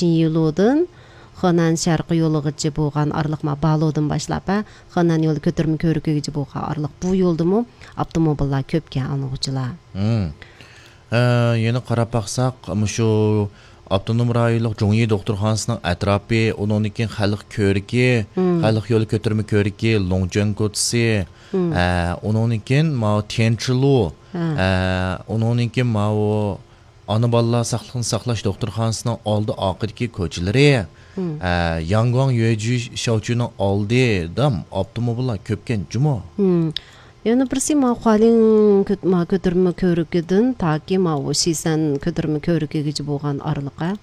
Чинилудун Хэнан шаркы жолугачы болгон аралык Балоодон башлап Хэнан жолу көтөрмө көрүккө болгон аралык бул жолдуму автомобилдар көпкө алынуучулар. Эне карап баксак, мушу автоном райлык Жоңи доктурханасынын атрапы, онун кийин халык көрүккө, халык жолу көтөрмө көрүккө, Лоңжон көчүсү, онун кийин Тенчилу, онун кийин аны балалар сактыгын саклаш доктурханасынын алды акыркы көчөлөрү, Янгуан Юэжи Шаочунун алдыда автомобилдар көпкен жумо. Яны бирси халин көтөрмө көрүккөдөн таки Шисан көтөрмө көрүккө болгон аралыкка.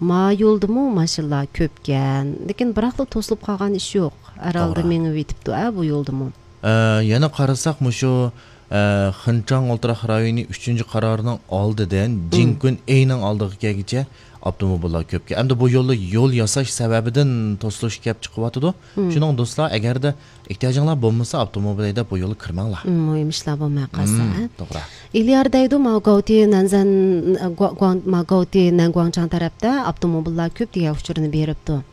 Жолдуму машиналар көпкен. Лекин бирок тосулуп калган иш жок. Аралда меңип өтүптү, бу жолдуму. Яна карасак, мушу Хынчан Олтурак району 3-карарынын алдыдан Жинкүн эйнин алдыгы кегиче автомобилдар көпкө. Эмди бу жолу жол жасаш себебиден тосулуш кеп чыгып атыды. Шуның достlar, эгерде эhtiyacыңлар болмаса автомобилде бу жолу кирмеңлар. Мыймышлар болмай калса. Туура. Илиардайду Магаути Нангуаңчан тарапта автомобилдар көп деген учурун берипту.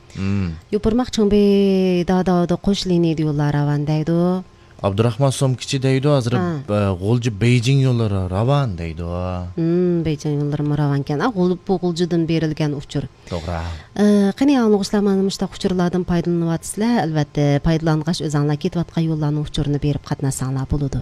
Юпурмак Чоңбей дагы кош линия жоллар авандайду. Абдурахман Сомкичи дейду, азыр Голжу Бейжиң жоллору раван дейду. Бейжиң жоллору раван экен. Бул Голжудун берилген учур. Туура. Кане алгычлар мындай учурлардан пайдаланып атсызlar, албетте пайдалангач өзүңлөр кетип аткан жоллардын учурун берип катнашсаңлар болот.